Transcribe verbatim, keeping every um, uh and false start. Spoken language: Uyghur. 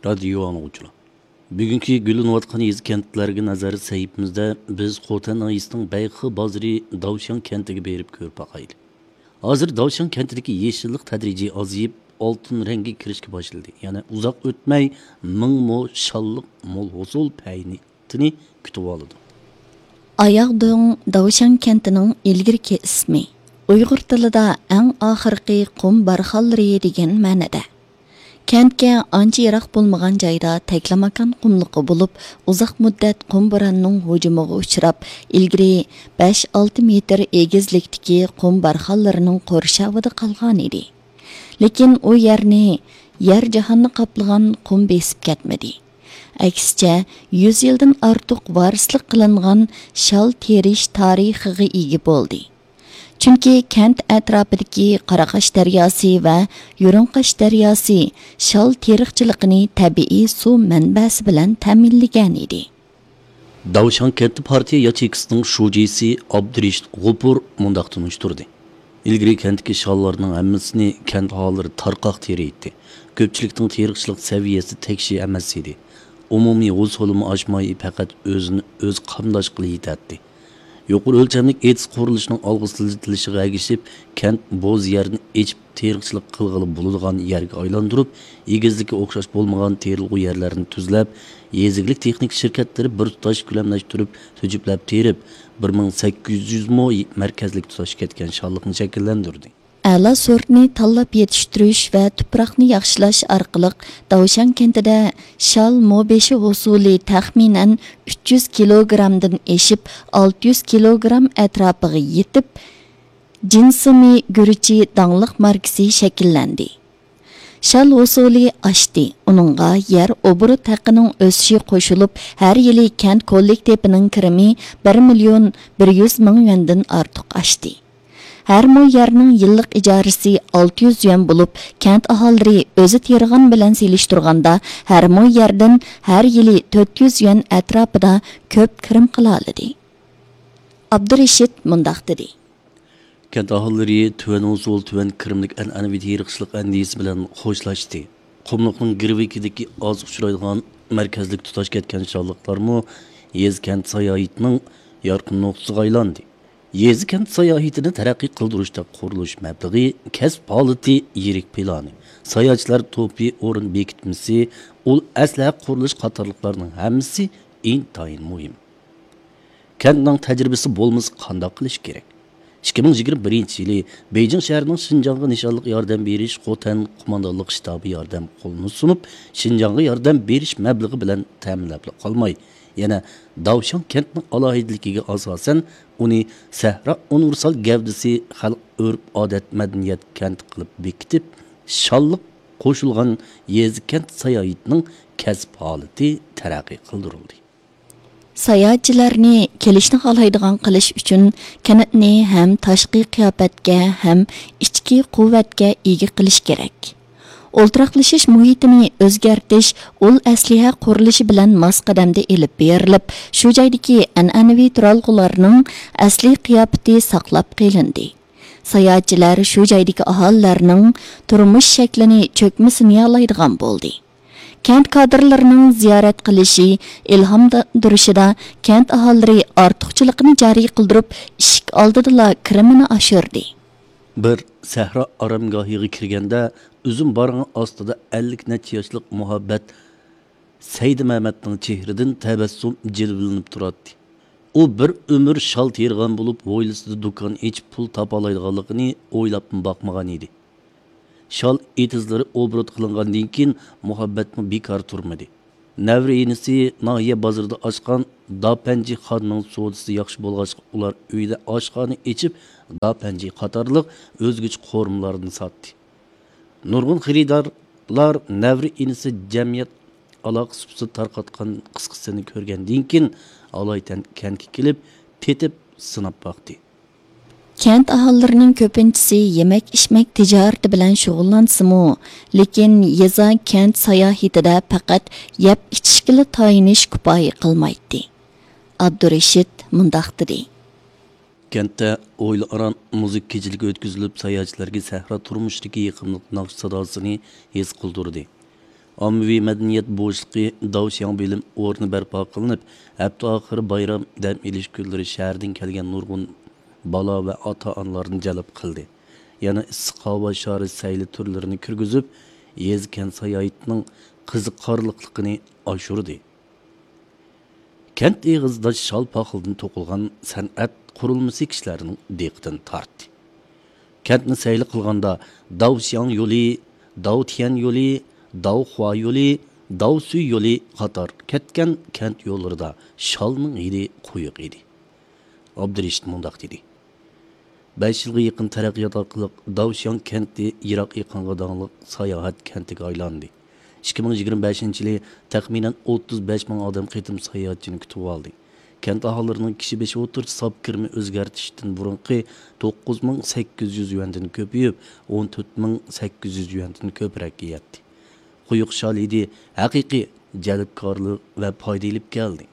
رادىيو ئاڭلىغۇچىلار، بۈگۈنكى گۈللىنىۋاتقان يېزا-كەنتلەرگە نەزەر سەھىپىمىزدە بىز خوتەن ناھىيەسىنىڭ بەيخې بازىرى داۋشياڭ كەنتىگە بېرىپ كۆرۈپ باقايلى. ھازىر داۋشياڭ كەنتىدىكى يېشىللىق تەدرىجىي ئازىيىپ، ئالتۇن رەڭگە كىرىشكە باشلىدى. يەنە ئۇزاق ئۆتمەي، مىڭ مو شاللىق مول ھوسۇل پەينى كۈتۈۋالىدۇ. ئاياغدۆڭ داۋشياڭ كەنتىنىڭ ئىلگىرىكى ئىسمى، ئۇيغۇر تىلىدا ئەڭ ئاخىرقى قۇم بارخانلىرى دېگەن مەنىدە. كەنتكە ئانچە يىراق بولمىغان جايدا تەكلىماكان قۇملۇقى بولۇپ، ئۇزاق مۇددەت قۇم بورانىنىڭ ھۇجۇمىغا ئۇچراپ، ئىلگىرى بەش ئالتە مېتىر ئېگىزلىكتىكى قۇم بارخانلىرىنىڭ قورشاۋىدا قالغانىدى. لېكىن ئۇ يەرنى يەر جاھاننى قاپلىغان قۇم بېسىپ كەتمىدى. ئەكسىچە، يۈز يىلدىن ئارتۇق ۋارىسلىق قىلىنغان شال تېرىش تارىخىغا ئىگە بولدى. چۈنكى كەنت ئەتراپىدىكى قاراقاش دەرياسى ۋە يۇرۇڭقاش دەرياسى شال تېرىقچىلىقىنى تەبىئىي سۇ مەنبەسى بىلەن تەمىنلىگەنىدى. داۋشياڭ كەنتى پارتىيە ياچېيكىسىنىڭ شۇجىسى ئابدۇرېشىت غوپۇر مۇنداق تونۇشتۇردى: ئىلگىرى كەنتتىكى شاللارنىڭ ھەممىسىنى كەنت ئاھالىلىرى تارقاق تېرىيتتى. كۆپچىلىكنىڭ تېرىقچىلىق سەۋىيەسى تەكشى ئەمەس ئىدى. ئومۇمىي ھوسۇلىمۇ ئاشماي، پەقەت ئۆزىنى ئۆزى قامداش قىلىۋېتەتتى. يۇقىرى ئۆلچەملىك ئېتىز قۇرۇلۇشىنىڭ ئالغا سىلجىتىلىشىغا ئەگىشىپ، كەنت بوز يەرنى ئېچىپ، تېرىقچىلىق قىلغىلى بولىدىغان يەرگە ئايلاندۇرۇپ، ئېگىزلىكى ئوخشاش بولمىغان تېرىلغۇ يەرلەرنى تۈزلەپ، يېزا ئىگىلىك تېخنىكا شىركەتلىرى بىر تۇتاش كۆلەملەشتۈرۈپ، تۈجۈپلەپ تېرىپ، بىر مىڭ سەككىز يۈز مو مەركەزلىك تۇتاش كەتكەن شاللىقنى شەكىللەندۈردى. ئەلا سورتنى تاللاپ يېتىشتۈرۈش ۋە تۇپراقنى ياخشىلاش ئارقىلىق داۋشياڭ كەنتىدە شال مو بېشى ھوسۇلى تەخمىنەن ئۈچ يۈز كىلوگرامدىن ئېشىپ، ئالتە يۈز كىلوگرام ئەتراپىغا يېتىپ، جىنسىمى گۈرۈچى داڭلىق ماركىسى شەكىللەندى. شال ھوسۇلى ئاشتى، ئۇنىڭغا يەر ئوبوروت ھەققىنىڭ ئۆسۈشى قوشۇلۇپ، ھەر يىلى كەنت كوللېكتىپىنىڭ كىرىمى بىر مىليون بىر يۈز مىڭ يۈەندىن ئارتۇق ئاشتى. ھەر مو يەرنىڭ يىللىق ئىجارىسى ئالتە يۈز يۈەن بولۇپ، كەنت ئاھالىلىرى ئۆزى تېرىغان بىلەن سېلىشتۇرغاندا، ھەر مو يەردىن ھەر يىلى تۆت يۈز يۈەن ئەتراپىدا كۆپ كىرىم قىلالىدى. ئابدۇرېشىت مۇنداق دېدى. كەنت ئاھالىلىرى تۆۋەن ھوسۇل، تۆۋەن كىرىملىك ئەنئەنىۋى تېرىقچىلىق ئەندىزىسى بىلەن خوشلاشتى. قۇملۇقنىڭ گىرۋىكىدىكى ئاز ئۇچرايدىغان مەركەزلىك تۇتاش كەتكەن شاللىقلارمۇ يېزا كەنت ساياھىتىنىڭ يارقىن نۇقتىسىغا ئايلاندى. يېزا كەنت ساياھىتىنى تەرەققىي قىلدۇرۇشتا قۇرۇلۇش مەبلىغى، كەسىپ ھالىتى، يىرىك پىلانى، ساياھەتچىلەر توپى، ئورۇن بېكىتمىسى، ئۇل ئەسلىھە قۇرۇلۇش قاتارلىقلارنىڭ ھەممىسى ئىنتايىن مۇھىم. كەنتنىڭ تەجرىبىسى بولمىسا قانداق قىلىش كېرەك؟ ئىككى مىڭ يىگىرمە بىرىنچى يىلى بېيجىڭ شەھىرىنىڭ شىنجاڭغا نىشانلىق ياردەم بېرىش خوتەن قوماندانلىق شتابى ياردەم قولىنى سۇنۇپ، شىنجاڭغا ياردەم بېرىش مەبلىغى بىلەن تەمىنلەپلا قالماي، يەنە داۋشياڭ كەنتىنىڭ ئالاھىدىلىكىگە ئاساسەن، ئۇنى سەھرا ئۇنىۋېرسال گەۋدىسى، خەلق ئۆرپ-ئادەت، مەدەنىيەت كەنتى قىلىپ بېكىتىپ، شاللىق قوشۇلغان يېزا-كەنت ساياھىتىنىڭ كەسىپ ھالىتى تەرەققىي قىلدۇرۇلدى. ساياھەتچىلەرنى كېلىشنى خالايدىغان قىلىش ئۈچۈن كەنتنى ھەم تاشقى قىياپەتكە، ھەم ئىچكى قۇۋۋەتكە ئىگە قىلىش كېرەك. ئولتۇراقلىشىش مۇھىتىنى ئۆزگەرتىش ئۇل ئەسلىھە قۇرۇلۇشى بىلەن ماس قەدەمدە ئېلىپ بېرىلىپ، شۇ جايدىكى ئەنئەنىۋى تۇرالغۇلارنىڭ ئەسلىي قىياپىتى ساقلاپ قېلىندى. ساياھەتچىلەر شۇ جايدىكى ئاھالىلەرنىڭ تۇرمۇش شەكلىنى چۆكمە سىنىيالايدىغان بولدى. كەنت كادىرلىرىنىڭ زىيارەت قىلىشى، ئىلھاملاندۇرۇشىدا كەنت ئاھالىلىرى ئارتۇقچىلىقىنى جارى قىلدۇرۇپ، ئىشىك ئالدىدىلا كىرىمىنى ئاشۇردى. بىر سەھرا ئارامگاھىغا كىرگەندە، ئۈزۈم بارىڭى ئاستىدا ئەللىك نەچچە ياشلىق مۇھەببەت سەيدىمەمەتنىڭ چېھرىدىن تەبەسسۇم جىلۋىلىنىپ تۇراتتى. ئۇ بىر ئۆمۈر شال تېرىغان بولۇپ، ھويلىسىدا دۇكان ئېچىپ پۇل تاپالايدىغانلىقىنى ئويلاپمۇ باقمىغان ئىدى. شال ئېتىزلىرى ئوبوروت قىلىنغاندىن كېيىن، مۇھەببەتمۇ بىكار تۇرمىدى. نەۋرە ئىنىسى ناھىيە بازىرىدا ئاچقان داپەنجى خاننىڭ سودىسى ياخشى بولغاچقا، ئۇلار ئۆيدە ئاشخانا ئېچىپ، داپەنجى قاتارلىق ئۆزگىچە قورۇمىلارنى ساتتى. نۇرغۇن خېرىدارلار نەۋرە ئىنىسى جەمئىيەت ئالاقە سۇپىسىدا تارقاتقان قىسقىسىنى كۆرگەندىن كېيىن، ئالايىتەن كەنتكە كېلىپ، تېتىپ سىناپ باقتى. كەنت ئاھالىلىرىنىڭ كۆپىنچىسى يېمەك-ئىچمەك تىجارىتى بىلەن شۇغۇللانسىمۇ، لېكىن يېزا-كەنت ساياھىتىدە پەقەت يەپ-ئىچىشكىلا تايىنىش كۇپايە قىلمايتتى. ئابدۇرېشىت مۇنداق دېدى. كەنتتە ھويلا ئاران مۇزىكا كېچىلىكى ئۆتكۈزۈلۈپ، ساياھەتچىلەرگە سەھرا تۇرمۇشىدىكى يېقىملىق ناخشا ساداسىنى ھېس قىلدۇردى. ئاممىۋى مەدەنىيەت بوشلۇقى داۋشياڭ بىلىم ئورنى بەرپا قىلىنىپ، ھەپتە ئاخىرى بايرام دەم ئېلىش كۈنلىرى شەھەردىن كەلگەن نۇرغۇن بالا ۋە ئاتا-ئانىلارنى جەلپ قىلدى. يەنە ئىسسىق ھاۋا شارى سەيلە تۈرلىرىنى كىرگۈزۈپ، يېزا-كەنت ساياھىتىنىڭ قىزىقارلىقلىقىنى ئاشۇردى. كەنت ئېغىزىدا شال پاخىلدىن توقۇلغان سەنئەت قۇرۇلمىسى كىشىلەرنىڭ دىققىتىنى تارتتى. كەنتنى سەيلە قىلغاندا داۋشياڭ يولى، داۋتيەن يولى، داۋخۇا يولى، داۋسۈي يولى قاتار كەتكەن كەنت يوللىرىدا شالنىڭ ھىدى قويۇق ئىدى. ئابدۇرېشىت مۇنداق دېدى: بەش يىلغا يېقىن تەرەققىيات ئارقىلىق داۋشياڭ كەنتى يىراق ئېقىنغا داڭلىق ساياھەت كەنتىگە ئايلاندى. ئىككى مىڭ يىگىرمە بەشىنچى يىلى تەخمىنەن ئوتتۇز بەش مىڭ ئادەم قېتىم ساياھەتچىنى كۈتۈۋالدى. كەنت ئاھالىلىرىنىڭ كىشى بېشى ئوتتۇرىچە ساپ كىرىمى ئۆزگەرتىشتىن بۇرۇنقى توققۇز مىڭ سەككىز يۈز يۈەندىن كۆپىيىپ، ئون تۆت مىڭ سەككىز يۈز يۈەندىن كۆپرەككە يەتتى. قويۇق شال ھىدى ھەقىقىي جەلپكارلىق ۋە پايدا ئېلىپ كەلدى.